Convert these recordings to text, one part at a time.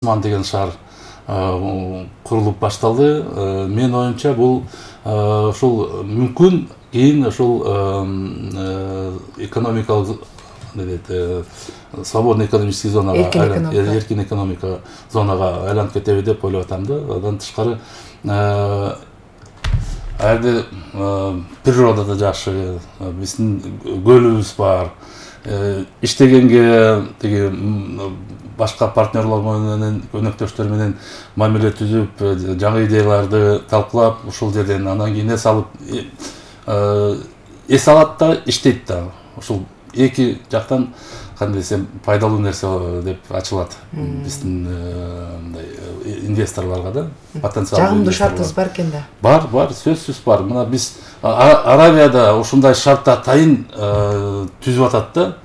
Осман деген шаар курулуп башталды. Мен оюмча бул ушул мүмкүн кийин ушул экономикалык свободный экономический зонага, эркин экономика зонага айланып кетеби деп ойлоп атам да. Андан тышкары айды природа да жакшы, биздин көлүбүз бар. Иштегенге тиги башка партнерлор менен, өнөктөштөр менен мамиле түзүп, жаңы идеяларды талкуулап, ушул жерден андан кийин эс алып, эс алат да, иштейт да. Ушул эки жактан кандай десем пайдалуу нерсе деп ачылат биздин инвесторлорго да, потенциалдуу. Жагымдуу шартыбыз бар экен да. Бар, сөзсүз бар. Мына биз Аравияда ушундай шартта атайын түзүп атат да.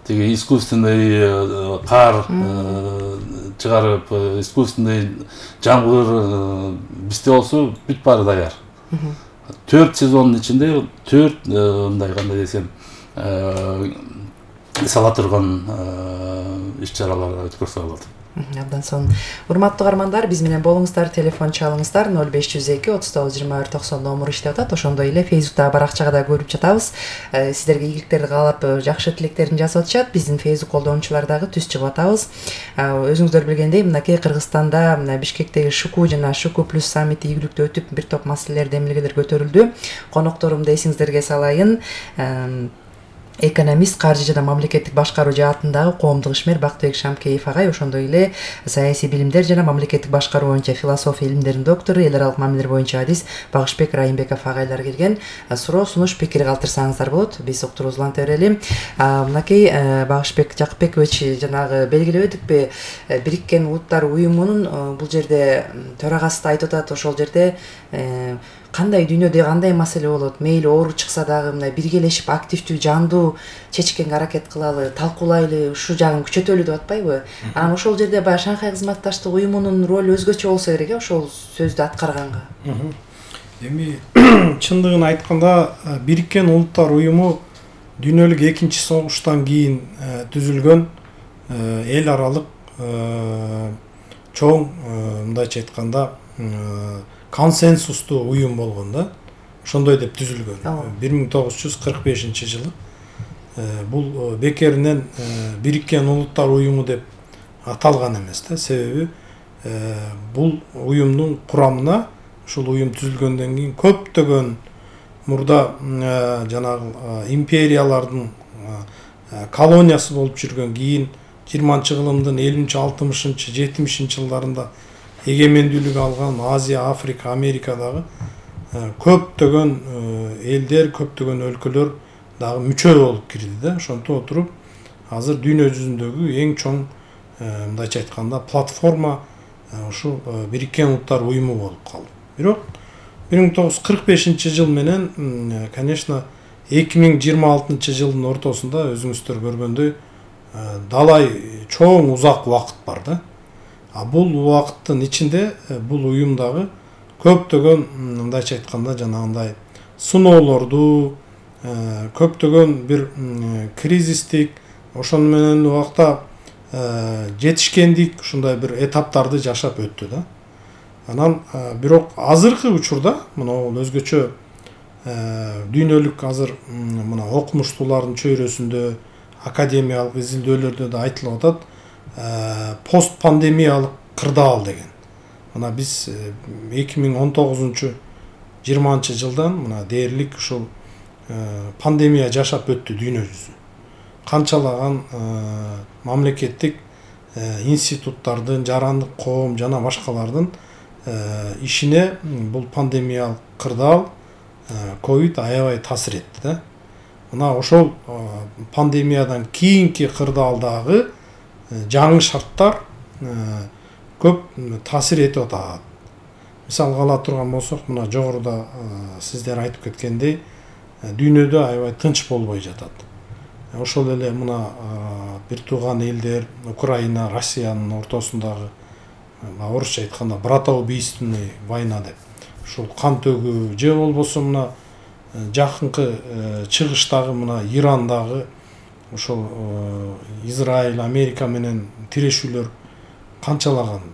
Тиги искусственный кар чыгарып, искусственный жамгыр бизде болсо бүт баары даяр. 4 сезондун ичинде 4 мындай кандай десем сала турган иш-чаралар өткөрсө болот. Абдан сонун. Урматтуу угармандар, биз менен болуңуздар, телефон чалыңыздар 0502 39 24 90 номер иштеп атат. Ошондой эле Facebook'та баракчага да көрүп жатабыз. Сиздерге ийгиликтерди каалап, жакшы тилектерин жазып атышат. Биздин Facebook колдонуучулары дагы түз чыгып атабыз. Өзүңүздөр билгендей, мынакей Кыргызстанда Бишкектеги Шуку жана Шуку плюс саммити ийгиликтүү өтүп, бир топ маселелер, демилгелер көтөрүлдү. Конокторумду эсиңиздерге салайын. Экономист, каржы жана мамлекеттик башкаруу жаатындагы коомдук ишмер Бактыбек Шамкеев агай, ошондой эле саясий билимдер жана мамлекеттик башкаруу боюнча философия илимдеринин доктору, эл аралык мамилелер боюнча адис Багышбек Райымбеков агайлар келген. Суроо, сунуш, пикир калтырсаңыздар болот. Биз уктуруубузду уланта берели. Мынакей Багышбек Жакыпбекович жанагы белгилебедикпи, Бириккен Улуттар уюмунун бул жерде төрагасы да айтып атат, ошол жерде кандай дүйнөдө кандай маселе болот, мейли оору чыкса дагы мындай биргелешип активдүү, жандуу чечкенге аракет кылалы, талкуулайлы, ушу жагын күчөтөлү деп атпайбы? Анан ошол жерде баягы Шанхай кызматташтык уюмунун ролу өзгөчө болсо керек, ошол сөздү аткарганга. Эми чындыгын айтканда, Бириккен Улуттар уюму дүйнөлүк экинчи согуштан кийин түзүлгөн эл аралык чоң, мындайча айтканда, консенсустуу уюм болгон да. Ошондой деп түзүлгөн. 1945-жылы. Бул бекеринен Бириккен Улуттар уюму деп аталган эмес да. Себеби бул уюмдун курамына, ушул уюм түзүлгөндөн кийин көптөгөн мурда жанагы империялардын колониясы болуп жүргөн, кийин 20-кылымдын 50-60, 70-жылдарында эгемендүүлүк алган Азия, Африка, Америкадагы көптөгөн элдер, көптөгөн өлкөлөр дагы мүчө болуп кирди да. Ошонтип отуруп, азыр дүйнө жүзүндөгү эң чоң, мындайча айтканда, платформа ушу Бириккен Улуттар уюму болуп калды. Бирок 1945-жыл менен, конечно, 2026-жылдын ортосунда өзүңүздөр көргөндөй далай чоң узак убакыт бар да. Бул убакыттын ичинде бул уюмдагы көптөгөн, мындайча айтканда, жанагындай сыноолорду, көптөгөн бир кризистик, ошону менен убакта жетишкендик ушундай бир этаптарды жашап өттү да. Анан бирок азыркы учурда мына өзгөчө дүйнөлүк азыр мына окумуштуулардын чөйрөсүндө, академиялык изилдөөлөрдө да айтылып атат, постпандемиялык кырдаал деген. Мына биз 2019-20 мына дээрлик ушул пандемия жашап өттү дүйнө жүзү. Канчалаган мамлекеттик институттардын, жарандык коом жана башкалардын ишине бул пандемиялык кырдаал, ковид аябай таасир этти да. Мына ошол пандемиядан кийинки кырдаалдагы жаңы шарттар көп таасир этип атат. Мисалга ала турган болсок, мына жогоруда сиздер айтып кеткендей, дүйнөдө аябай тынч болбой жатат. Ошол эле мына бир тууган элдер, Украина, Россиянын ортосундагы, орусча айтканда, братоубийственный война деп. Ушул кан төгүү, же болбосо мына жакынкы чыгыштагы мына Ирандагы ошол Израиль, Америка менен тирешүүлөр канчалаган